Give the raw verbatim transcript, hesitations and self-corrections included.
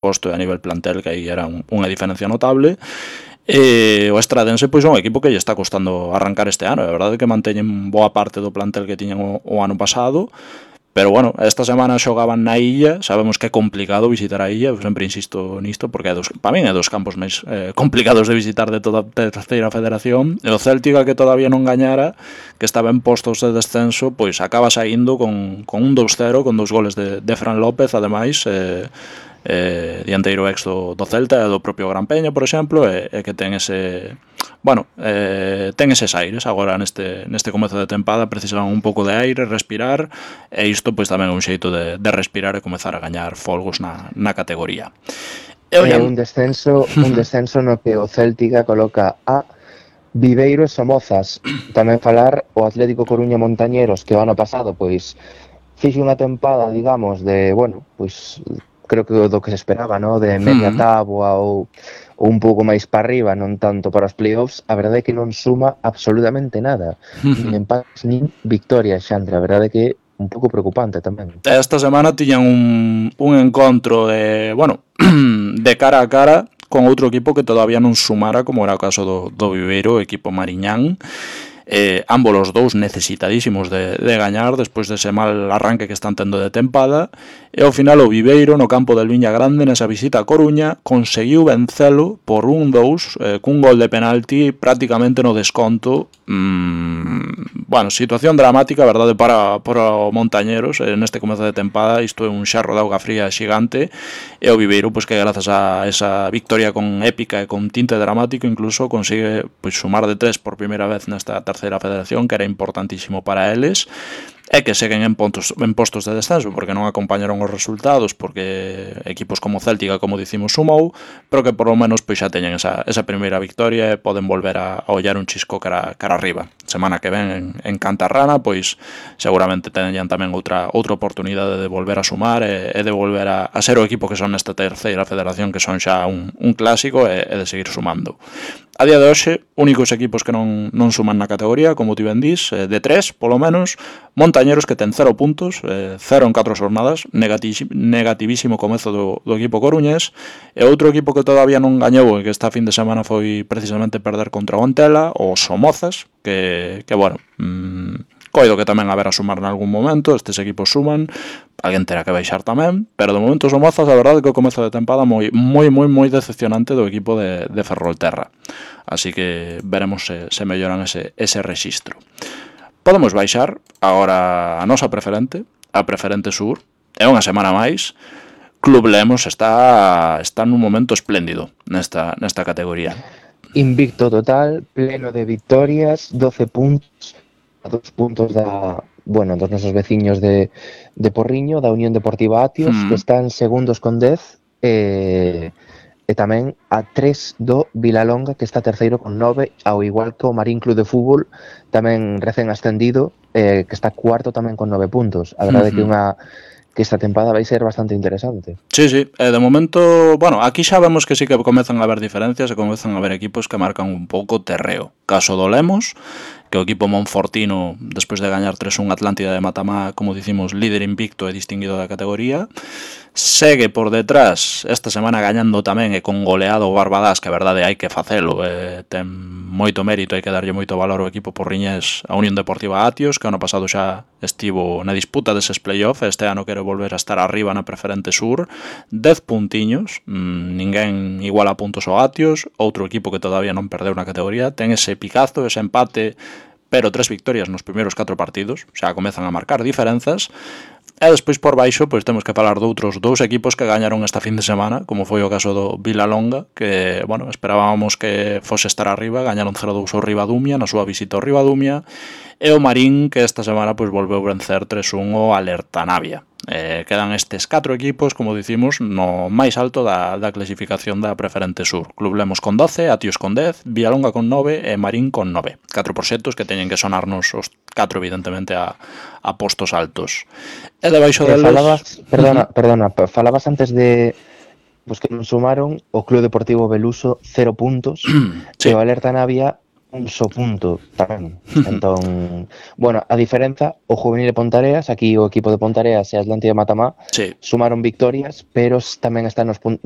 posto e a nivel plantel, que aí era un, unha diferencia notable. E o Estradense pois é un equipo que lle está costando arrancar este ano. É verdade que manteñen boa parte do plantel que tiñan o, o ano pasado, pero bueno, esta semana xogaban na Illa. Sabemos que é complicado visitar a Illa, eu sempre insisto nisto, porque é dos, para min é dos campos máis eh, complicados de visitar de toda a terceira federación. E o Céltica, que todavía non gañara, que estaba en postos de descenso, pois acaba saindo con, con un dos cero, con dos goles de, de Fran López, ademais, eh, eh, dianteiro ex do, do Celta e do propio Gran Peña, por exemplo, e, e que ten ese... Bueno, eh, ten eses aires agora neste, neste comezo de tempada. Precisan un pouco de aire, respirar, e isto pois tamén é un xeito de, de respirar e comezar a gañar folgos na, na categoría. E é un descenso, un descenso no que o Céltica coloca a Viveiro e Somozas. Tamén falar o Atlético Coruña Montañeros, que o ano pasado pois fixe unha tempada, digamos, de, bueno, pois creo que do que se esperaba, ¿no? De media táboa ou, ou un pouco máis para arriba, non tanto para os playoffs. A verdade é que non suma absolutamente nada, nin empates nin victorias, Xandre. A verdade é que un pouco preocupante tamén. Esta semana tiñan un, un encontro de, bueno, de cara a cara con outro equipo que todavía non sumara, como era o caso do, do Viveiro, o equipo Mariñán. Eh, ambos os dous necesitadísimos de, de gañar despois dese mal arranque que están tendo de tempada, e ao final o Viveiro, no campo del Viña Grande, nesa visita a Coruña, conseguiu vencelo por un dous, eh, cun gol de penalti prácticamente no desconto. mm, bueno, situación dramática, verdade, para, para o Montañeros eh, neste comezo de tempada. Isto é un xarro de auga fría xigante, e o Viveiro, pois que grazas a esa victoria con épica e con tinte dramático, incluso consigue pois sumar de tres por primeira vez nesta terceira federación, que era importantísimo para eles, e que seguen en, pontos, en postos de descenso, porque non acompañaron os resultados, porque equipos como Céltica, como dicimos, sumou, pero que por lo menos pois xa teñen esa, esa primeira victoria e poden volver a, a ollar un chisco cara, cara arriba. Semana que ven en, en Cantarrana, pois seguramente teñan tamén outra outra oportunidade de volver a sumar e, e de volver a, a ser o equipo que son nesta terceira federación, que son xa un, un clásico, e, e de seguir sumando. A día de hoxe, únicos equipos que non, non suman na categoría, como ti ben dís, de tres, polo menos, Montañeros, que ten cero puntos, eh, cero en catro jornadas, negativísimo comezo do, do equipo coruñés, e outro equipo que todavía non gañou e que esta fin de semana foi precisamente perder contra o Antela, o Somozas, que, que bueno... Mmm, coido que tamén haberá sumar en algún momento. Estes equipos suman, alguén terá que baixar tamén, pero de momento Somozas, a verdade que o comezo de tempada moi moi moi moi decepcionante do equipo de, de Ferrolterra, así que veremos se, se melloran ese, ese rexistro. Podemos baixar agora a nosa preferente, a preferente sur. É unha semana máis. Club Lemos está está nun momento espléndido nesta, nesta categoría. Invicto total, pleno de victorias, doce puntos, a dos puntos da, bueno, dos nosos veciños de, de Porriño, da Unión Deportiva Atios, mm. que están segundos con dez, e, e tamén a tres do Vilalonga, que está terceiro con nove, ao igual que o Marín Club de Fútbol, tamén recén ascendido, eh, que está cuarto tamén con nove puntos. A verdade mm-hmm. que unha que esta tempada vai ser bastante interesante. Sí, sí, eh, de momento, bueno, aquí xa vemos que sí que comezan a haber diferencias e comezan a haber equipos que marcan un pouco terreo. Caso do Lemos, que o equipo monfortino, despois de gañar tres un Atlántida de Matamá, como dicimos, líder invicto e distinguido da categoría, segue por detrás esta semana gañando tamén e con goleado o Barbadás, que a verdade hai que facelo, eh, ten moito mérito, hai que darlle moito valor ao equipo porriñés, a Unión Deportiva Atios, que ano pasado xa estivo na disputa deses play-off, este ano quere volver a estar arriba na preferente sur, dez puntiños, mmm, ninguén igual a puntos ao Atios, outro equipo que todavía non perdeu na categoría, ten ese picazo, ese empate, pero tres victorias nos primeiros catro partidos, xa comezan a marcar diferenzas. E despois por baixo pois temos que falar de outros dous equipos que gañaron esta fin de semana, como foi o caso do Vilalonga, que, bueno, esperábamos que fose estar arriba, gañaron cero dous ao Ribadumia na súa visita ao Ribadumia, e o Marín, que esta semana pois volveu vencer tres un ao Alerta Navia. Eh, quedan estes catro equipos, como dicimos, no máis alto da, da clasificación da preferente sur. Club Lemos con doce, Atios con dez, Vilalonga con nove e Marín con nove. Catro proxectos que teñen que sonarnos os catro, evidentemente, a, a postos altos. E debaixo eh, deles... Falabas, perdona, perdona, falabas antes de pues que non sumaron o Club Deportivo Beluso cero puntos, sí. E o Alerta Navia un só punto tamén. Entón, bueno, a diferenza, o juvenil de Pontareas, aquí o equipo de Pontareas e Atlántida de Matamá Sí. sumaron victorias, pero tamén están nos, nos